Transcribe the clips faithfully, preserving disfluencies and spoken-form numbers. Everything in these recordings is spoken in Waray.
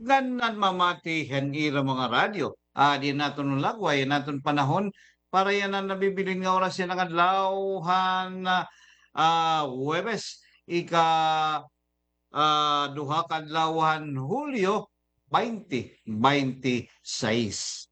Ngan an mamati han ira mga radyo. Ah, di naton lagway an aton panahon para yana nabibilin nga oras yana nga adlaw han, ah, Huwebes, ika, ah, duha ka adlaw han Hulyo, baynte baynte sais.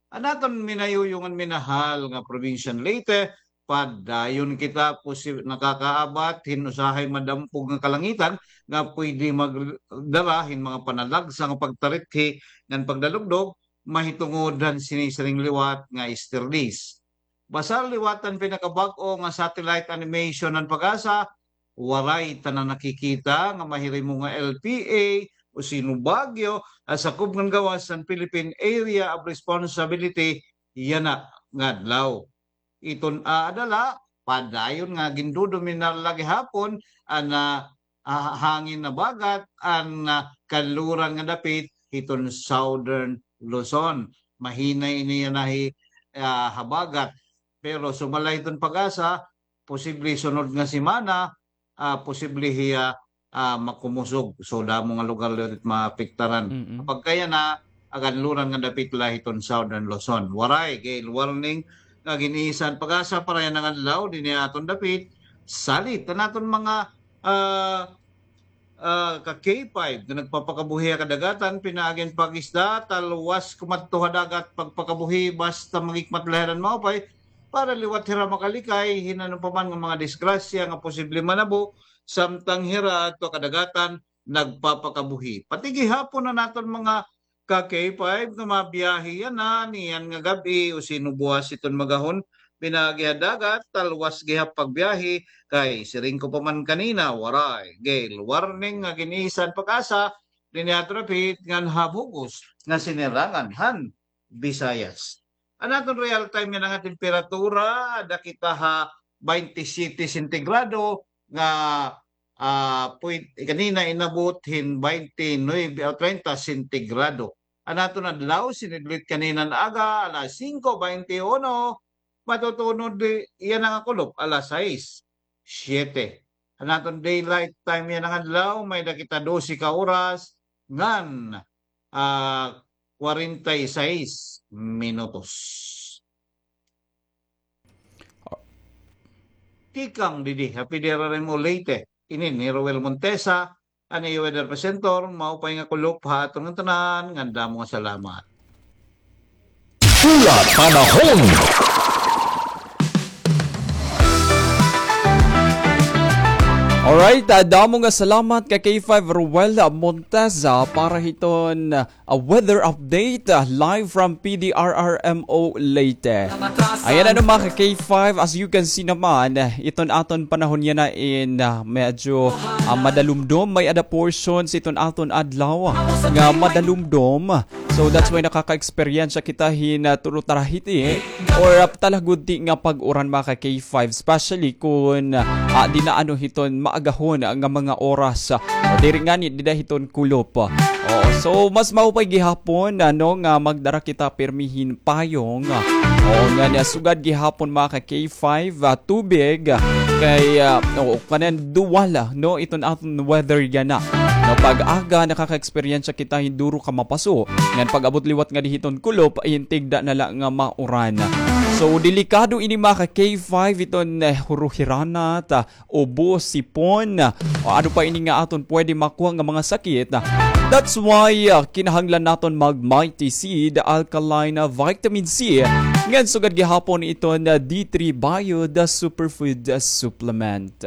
An aton minayuyong ngan minahal nga probinsya han Leyte, padayon kita posi-, nakakaabat hin usahay madampog nga kalangitan nga pwede magdara hin mga panalagsa nga pagtarithi ngan pagdalugdog, mahitungod han sini siring liwat nga Easter days. Basar liwat han pinakabag-o nga satellite animation han PAGASA, waray ta na nakikita nga mahirimo nga L P A o sino Baguio, ah, sakob ngan gawas han Philippine Area of Responsibility yana nga adlaw. Iton aada la, padayon nga gindodominar la gihapon an, ah, ah, hangin habagat an, ah, kanluran nga dapit hiton Southern Luzon. Mahina ini yana hi, ah, habagat. Pero sumala hiton PAGASA, posible sunod nga semana, ah, posible hiya, ah, makumusog. So, damo nga lugar liwat it maapektaran. Mm-mm. Pagka yana, an kanluran nga dapit la hiton Southern Luzon. Waray gale warning nga gin-iisa han PAGASA para yana nga adlaw dinhi ha aton dapit. Salit an aton mga, ah, ah, ka K five nga nagpapakabuhi ha kadagatan, pinaagi han pag-isda, talwas kumadto ha dagat, pagpakabuhi, basta maghikmat la hira hin maupay, para liwat hira makalikay hin ano pa man nga mga disgrasya nga posible manabo, samtang hira adto ha kadagatan nagpapakabuhi. Pati gihapon an aton mga ka K five nga mabiyahe yana niyan nga gab-i o sino buwas hiton magahon, pinaagi ha dagat, talwas gihap pagbiyahe, kay siring ko pa man kanina, waray gale warning nga gin-iisa han PAGASA dinhi ha aton dapit ngan ha bug-os nga sinirangan han Visayas. An aton real time yana nga temperatura, ada kita ha baynte siyete sentigrado nga, ah, pwed-, kanina inabot hin baynte nuebe o treinta sentigrado. An aton adlaw, sinidlit kanina nga aga, alas singko baynte uno, matutunod yana nga kulop, alas sais, siyete. An aton daylight time yana nga adlaw, may-ada kita dose ka oras ngan, ah, kwarenta y seis minutos. Tikang didi ha P D R R M O Leyte, ini ni Roel Montesa, an iyo weather presenter, maupay nga kulop ha aton ngatanan, ngan damo nga salamat. Pula Panahon. Alright, ah, damo nga salamat ka K five Roel Montesa para hiton, ah, weather update, ah, live from P D R R M O Leyte. Ayan, ano, mga ka K five, as you can see naman, ah, iton aton panahon yana in, ah, medyo, ah, madalumdom, may-ada portions iton aton adlaw nga madalumdom. So that's why nakaka-eksperyensya kita hin, ah, tulo tarahiti or, ah, talagudti nga pag-uran, mga ka K five, especially kun, ah, dida ano hiton maagahon nga mga oras, ah, diri ngani dida hiton kulop. Oo, so mas maupay gihapon, ano, nga magdara kita pirmi hin payong. Oo, ngan sugad gihapon, mga ka K five, ah, tubig, ah, kay, ah, oo, kanan duwala, no, iton aton weather yana. No, pag-aga nakaka-eksperyensya kita hin duro ka mapaso, ngan pag-abot liwat ngadi hiton kulop, hin tigda na la nga mauran. So, delikado ini, mga ka K five, iton, eh, huruhiranat, ah, ubo, sipon, o ano pa ini nga aton pwede makuha nga mga sakit. That's why, ah, kinahanglan naton mag Mighty Seed Alkaline Vitamin C, ngan sugad gihapon iton, ah, D three Bio, the superfood, ah, supplement.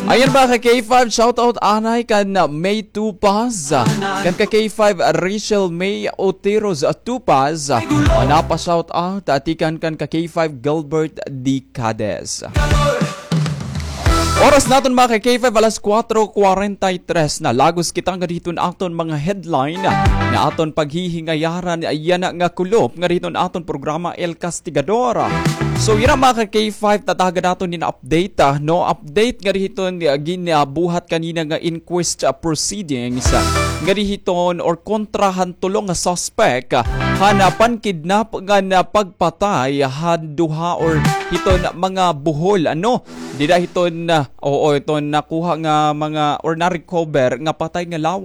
Ayan, mga ka K five, shoutout anay kan May Tupaz, kan ka K five Rachel May Oteros Tupaz, napa-shoutout, ah, tikang kan ka K five Gilbert D. Cades. Oras naton, mga ka K five, alas kuwatro kwarenta y tres na. Lagos kita ngadi hiton aton mga headline nga aton paghihingayaran yana nga kulop ngadi hiton aton programa El Castigador. So, yana, mga ka K five, tatagan naton hin update, ah, no? Update ngadi hiton, ah, ginabuhat kanina nga inquest, ah, proceedings, ah, ngadi hiton or kontra han tulo nga suspect, ah, han, ah, pankidnap ngan, ah, pagpatay han duha or hiton mga buhol, ano? Dida hiton, ah, oo, iton nakuha nga mga or na-recover nga patay nga lawas.